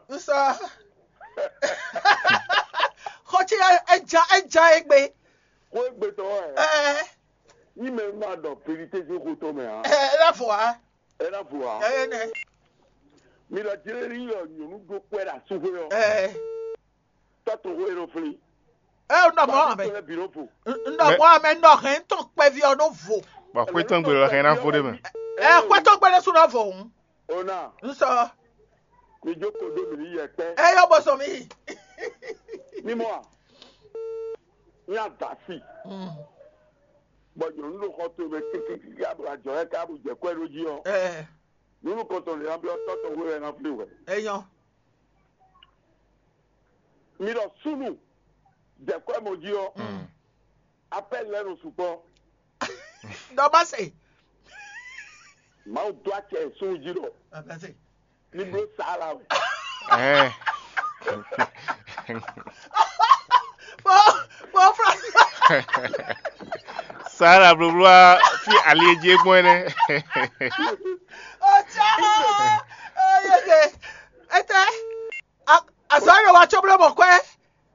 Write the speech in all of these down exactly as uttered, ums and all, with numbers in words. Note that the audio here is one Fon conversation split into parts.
Un sɔ. Xɔ ce ɛ ja ɛ ja egbe. Xó egbe tɔn wɛ. Ɛ Ní mɛ ma ɖɔ vérité sín xó tɔn mɛ ǎ. Ɛ ɛ la fɔ wa. Ɛ na vo ǎ. Ɛ nɛ. Mi ɖɔ jlé ní yɔ nyɔ̌nu ɖó kpɛ́ ɖo asúxwé ɔ́. Ɛ Tɔ́ tɔn xó e nɔ flín. Ɛ un ɖɔ mɔ amɛ. Tɔn lɛ bǐ nɔ vo. Un ɖɔ mɔ amɛ nɔ hɛn tɔn kpɛví ɔ́ nɔ vo. Bɔ xwé tɔn gbe lɔ hɛn ná vo ɖé mɛ. Ɛ xwé tɔn gbe lɛ su nɔ vo hǔn. Ona. Un sɔ. Mi jókòó dó mǐ ní yɛ kpɛ́. Ɛ yɔ bɔ sɔ mi. Mímɔ a? Ní adasi. Bɔ nyɔ̌nu ɖo xɔ towe mɛ kíkíkíkí aɖo ajɔ yɛ ká bó jɛ kwɛ ɖó jí ɔ́. Ɛ Nyɔ̌nu kɔntɔn lě ná byɔ́ tɔ́ tɔn hwe wɛ ná flí hwɛ. Ɛ nyɔ. Mi ɖɔ súnnu jɛ kwɛ mɔ jí ɔ́. Apɛ́li lɛ́ɛ nɔ sukpɔ́. Dɔ ba se. Mawu dó acɛ súnnu jí ɖɔ. Abase. Ní bló Saala wɛ. Ɛɛ. Bɔ bɔ Fransa. Saala blóbló wá fí ali e jí é gbɔn é nɛ́. Ɔtsɛ. Oyeke. Ete. Azɔ yɛ wa tso bló mɔ kwɛ.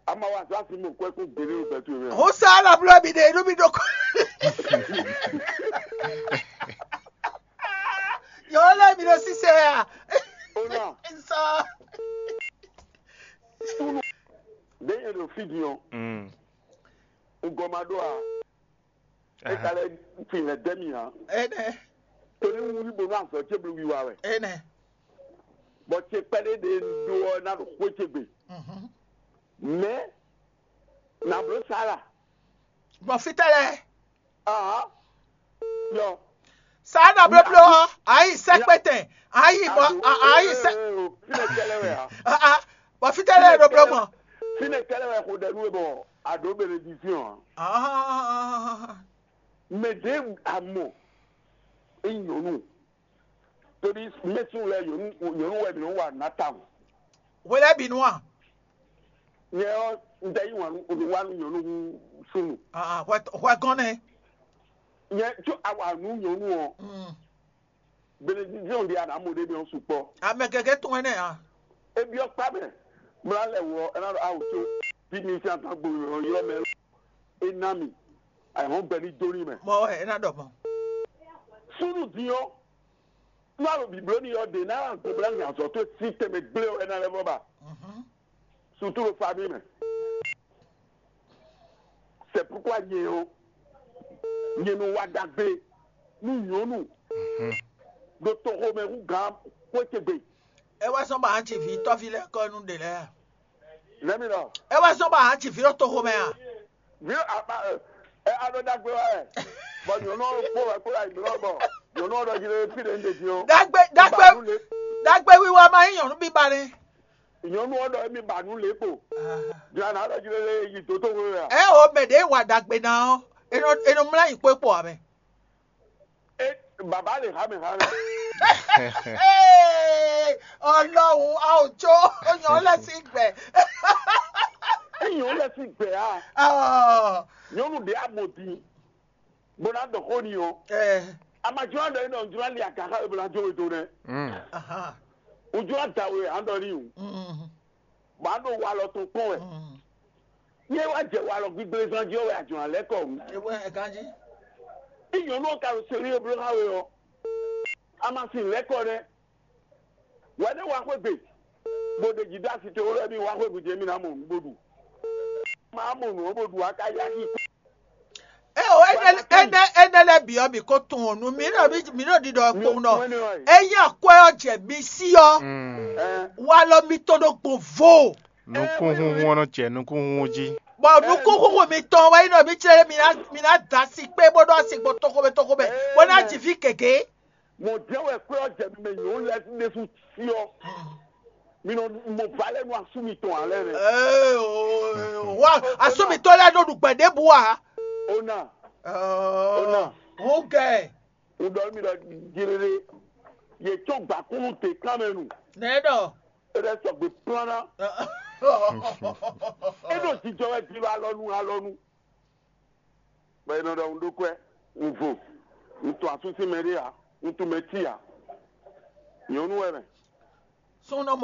Ama wa zɔ asi mo kwɛ kó gbélé o bɛtu mi. Ho Saala bló mi de inú mi ɖo kɔ. Yɔɔ lɛ mi ɖo sise a. Ona. Nsɔ. Ɖé yẹn ɖo fí din ɔ́. Mm. Ŋgɔ ma ɖó a. E ka lɛ fin lɛ dɛ mi ǎ. Ene. Torí wúrí bónú azɔ̌ ce bló wiwa wɛ. Ene. Bɔ ce kpɛɖé ɖe ɖó ɔ́ ná ɖo xwé ce gbe. Mhm. Mɛ na bló Sara. Gbɔn fítɛ́ lɛ. Ahán. Yɔ. Sara na blóbló ɔ́, ayi sɛkpɛtɛn, ayi bɔ ayi sɛ. Fínɛ kɛlɛ wɛ a? Ah ah. Bɔ fítɛ́ lɛ ɖo bló mɔ. Fínɛ kɛlɛ wɛ xo ɖɛ nú we bɔ a ɖǒ benediziɔn a? Ah. Mɛ ɖě a mɔ é nyɔ̌nu. Torí mɛsúnnu lɛ́ɛ nyɔ̌nu nyɔ̌nu wɛ mǐ nɔ wa nǔ ná tawun. Hwe lɛ́ɛ bǐ nu a? Nyɛ ɔ́, un tɛ yí wǎn nú nǔ wa nú nyɔ̌nu hú súnnu. Ah, hwɛ hwɛ gɔ́n nɛ́. Nyɛ có a wa nǔ nyɔ̌nu ɔ́, Mm. Benediziɔn ɖi a nǎ mɔ ɖé mɛ ɔ́ sukpɔ́. Ame gěgé tunwun énɛ́ ǎ. É byɔ́ kpá mɛ, mlá lɛ wɔ é ná ɖɔ awu có bí mi sín atán gbo ylɔ́ mɛ é ná mi, ayǐhɔ́ngbe ní dó ní mɛ. Mɔ wɛ é ná ɖɔ mɔ. Súnnu din ɔ́, nú alo bǐbló ní ɔ́ ɖě ná gblɔ́ nya azɔ̌ towe sín tɛnmɛ gblé ɔ́, é ná lɛ́ vɔ ba. Mhm. Sutu ɖo famille mɛ. C'est pourquoi nyɛ ɔ́, nyɛ nɔ wa ɖagbe nú nyɔ̌nu ɖo toxomɛ hú gǎn xwé ce gbe. É wá sɔ́ ba hán ci vǐ tɔ́ví lɛ́ɛ kɔ nú ɖě lɛ́ɛ a? Nɛ̌ mi ɖɔ? É wá sɔ́ ba hán ci vǐ ɖo toxomɛ a? Vǐ aba ɛ alo ɖagbe wá wɛ. Bɔ nyɔ̌nu ɔ́ kpó wɛ kpó wɛ ayǐ blɔ́ bɔ nyɔ̌nu ɔ́ ɖɔ jí lé fí ɖě un ɖe din ɔ́. Ɖagbe ɖagbe Ba nú lě. Ɖagbe wiwa ma nyí nyɔ̌nu bíba nɛ́. Nyɔ̌nu ɔ́ ɖɔ émí ba nǔ lě kpo. Jlana ɖɔ jí lélé yi dǒ tó hwe wɛ a? Ɛ o mɛ ɖě wa ɖagbe ná ɔ́, è nɔ è nɔ mlá nyi kpó kpó ame. É baba lè há mɛ há mɛ. Ọlọ́run a ò jó oyàn lẹ́sìn gbẹ̀. Éyàn ó lɛ sí gbɛ a? Ọ̀, Nyɔnu ɖě a mɔ din bó ná ɖɔ xó ni ɔ́. Ɛ, Amadzro ɖɔ é nɔ jló ali agaxa e bó ná jó we do nɛ. Mm. Aha. Ojló ada we an ɖɔ ní o. Mm. Bɔ an ɖo walɔ tɔn kpɔn wɛ. Mm. Yé wá jɛ walɔ gbígblézán jí ɔ́ wɛ ajɔ̌ alɛ́ kɔ wǔ. Ewé ɛ ganjí. Bí nyɔ̌nu ɔ́ ka ɖo seli e bló xá we ɔ́, a ma sin lɛ́ kɔ nɛ́. Wɛ nɛ́ wá xwé gbe, bó ɖe jí dó asi te wó lɛ́ ní wá xwé gbe jɛ mí ná mɔ nǔ bó ɖu. Má mɔ nǔ ɔ́ bó ɖu a ka yá kí. Eo, énɛ́ énɛ́ énɛ́ lɛ́ɛ bǐ ɔ́, mǐ ko tunwun nú mǐ ɖɔ mǐ ɖɔ ɖiɖɔ kpowun ɖɔ ényí akwɛ́ ɔ́ jɛ mi sí ɔ́, walɔ mitɔn ɖo gbɔn vo. Nukúnhúnhún ɔ́ nɔ jɛ nukúnhúnhún jí. Bɔ nukúnhúnhún mitɔn wɛ nyí ɖɔ mǐ clɛ́ mǐ ná mǐ ná da asi kpé bó ɖó asi gbɔn toxomɛ toxomɛ bó ná ji vǐ gěgé. Mɔ̌ jɛ́n wɛ kwɛ́ ɔ́ jɛ mi mɛ nyɔ̌nu lɛ́ɛ ɖésú cyɔ. Mi nɔ mɔ va lɛ́ɛ nú asú mitɔn ǎ lɛ́ɛ nɛ́. Ee, o, o, wa asú mitɔn lɛ́ɛ nɔ ɖu gbɛ ɖěbǔ ǎ. Ona, Ona. Húngɛ. Un ɖɔ mi ɖɔ jiriri, yě tsɔ́n gbǎkúnnu te kán mɛ nu. Nɛ̌ ɖɔ? É ɖɛ́ sɔgbe plán ná. É ɖo jijɔ wɛ jilo alɔnu alɔnu. Bɔ è nɔ ɖɔ un ɖó kwɛ́, un vo, un tunwun asú sín mɛ ɖé ǎ, un tunwun mɛ tí ǎ. Nyɔ̌nu wɛ mɛ. Súnnu